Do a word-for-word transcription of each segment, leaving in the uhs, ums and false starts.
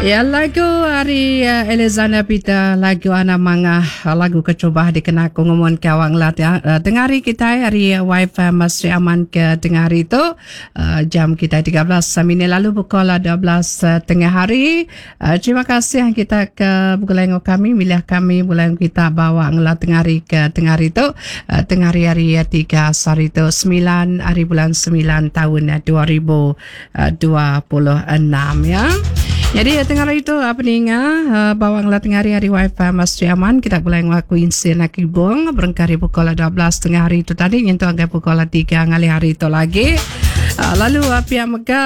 Ya lagu ari Alexander Peter lagu Ana Mangah lagu keterubah dikena aku ngumun ke awak ngelat ya. Tengah hari kitai ari Y F M Sri Aman ke tengah hari tu jam kitai tiga belas minit lalu pukul dua belas tengah hari. Terima kasih kita ke begulai enggau kami milih kami begulai enggau kita bawa ngelat tengah hari ke tengah hari tu tengah hari hari tiga sehari tu semilan hari bulan semilan taun dua ribu dua puluh enam ya. Jadi tengah hari tu apa ninga bawang lah tengah hari hari wifi Mas Aman kita boleh ngaku insin nak ibung berengkah hari pukul dua belas tengah hari tu tadi nyentuh angkai pukul tiga ngalih hari tu lagi. Lalu pihak mega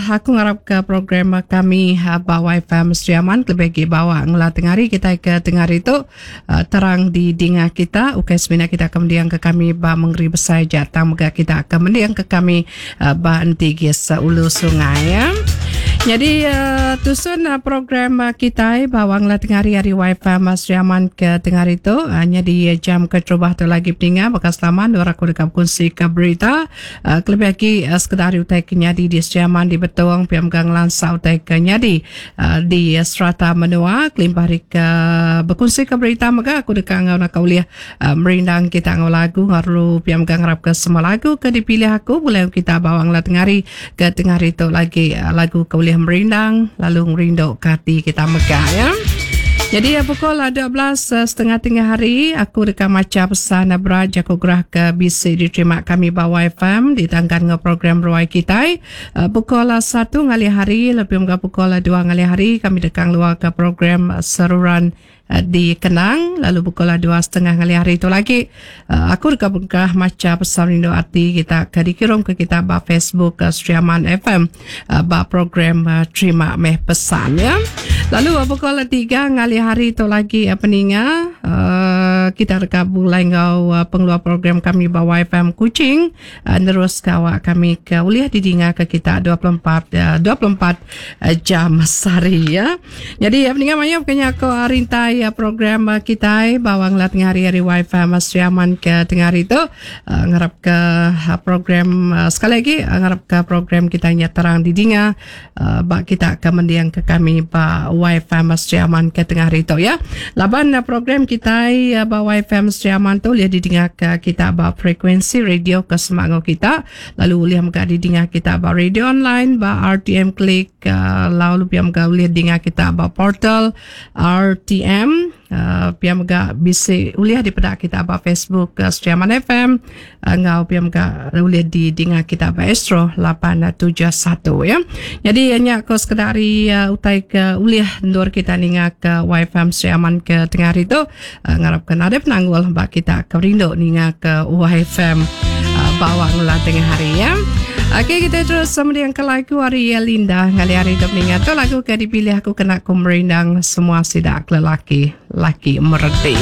aku ngarap ke program kami ba wifi Mas Aman lebih lagi bawa ngelah tengah hari kita ke tengah hari tu terang di dinga kita ukai semina kita kemudian ke kami ba Mengeri Besai Jatang mega kita kemudian ke kami ba Entigis Ulu Sungai ya. Jadi uh, tusun uh, program uh, kita bawang lah tengah hari hari wifi Mas Aman ke tengah hari tu hanya uh, di jam keterubah tu lagi peninga bakal selamat dua aku dekat kongsi ke berita uh, kelebih lagi uh, sekedar utai kenyadi di Sri Aman di Betong P M Gang Lansa utai kenyadi uh, di uh, serata menua kelimpah hari ke berkongsi ke berita mega aku dekat ngau nak uliah uh, merindang kita ngau lagu ngaru P M Gang harap ke semua lagu ke dipilih aku boleh kita bawang lah tengah hari ke tengah hari tu lagi uh, lagu ke uliah merindang lalu ngerindu ke hati kita megah ya. Jadi pukul dua belas setengah tengah hari aku dekat maca pesan berat jaku gerah ke B C diterima kami ba Y F M ditangkan dengan program Ruai Kitai. Pukul satu ngalih hari lebih megah pukul dua ngalih hari kami dekat luar ke program seruran di Kenang lalu pukul dua setengah ngalih hari itu lagi aku dekat bengkah maca pesan rindu hati kita ke dikirim ke kita ba Facebook Sri Aman F M ba program terima meh pesan ya. Lalu pukul tiga ngalih hari itu lagi peninga kita dekat bulai ngau pengeluar program kami ba Y F M Kuching nerus kawak kami ke uliah didinga ke kita dua puluh empat jam sehari ya. Jadi peninga maya bukannya aku rintai program kita bawang lah tengah hari hari Y F M Sri Aman ke tengah hari itu ngarap ke program sekali lagi ngarap ke program kita nya terang didinga bak kita ke mendiang ke kami ba Y F M Sri Aman ke tengah hari itu ya. Laban program kita ba Y F M Sri Aman tu lihat didinga ke kita ba frekuensi radio ke semangat kita lalu lihat mega didinga kita ba radio online ba R T M Klik lalu pihak mega lihat dinga kita ba portal R T M Uh, pihak mega bisa uliah di pedak kita ba Facebook uh, Sri Aman F M uh, ngau pihak mega uliah di dinga kita ba Astro lapan tujuh satu ya. Jadi hanya ko sekedar uh, utai ke uliah ndur kita ninga ke Y F M Sri Aman ke tengah hari tu uh, ngarapkan ada penanggul ba kita ke rindu ninga ke Y F M uh, bawa ngulah tengah hari ya. Okey, kita terus sama dengan ke lagu hari Linda ngali hari tu meninggal tu lagu ke dipilih aku kena ku merindang semua sidak lelaki laki mereti.